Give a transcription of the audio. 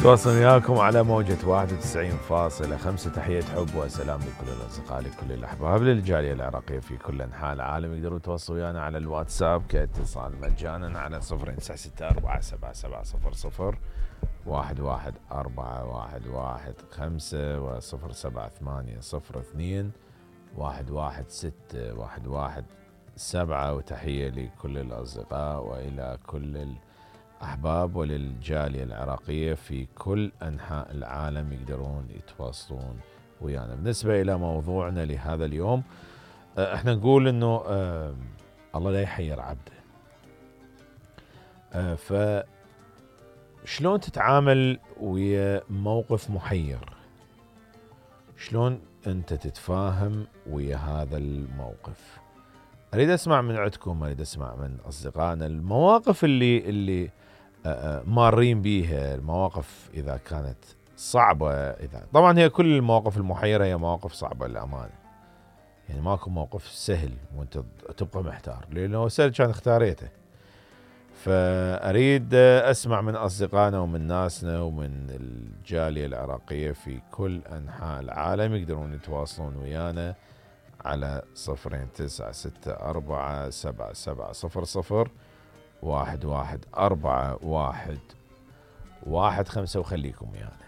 تواصل وياكم على موجة 91.5. تحية حب وسلام لكل الأصدقاء لكل الأحباب للجالية العراقية في كل أنحاء العالم. يقدروا يتواصلوا ويانا على الواتساب كاتصال مجانا على 09647700 1141115 و078002 1161117. وتحية لكل الأصدقاء وإلى كل الأحباب وللجالية العراقية في كل أنحاء العالم يقدرون يتواصلون ويانا. بالنسبة إلى موضوعنا لهذا اليوم، احنا نقول انه الله لا يحير عبده. فشلون تتعامل ويا موقف محير؟ شلون انت تتفاهم ويا هذا الموقف؟ اريد اسمع من عندكم، اريد اسمع من اصدقائنا المواقف اللي مارين بيها، المواقف اذا كانت صعبة. طبعا هي كل المواقف المحيرة هي مواقف صعبة للأمانة، يعني ماكو موقف سهل وانت تبقى محتار، لأنه سهل كان اختاريته. فأريد أسمع من أصدقائنا ومن ناسنا ومن الجالية العراقية في كل أنحاء العالم يقدرون يتواصلون ويانا على 09647700 1141115 وخليكم ويانا.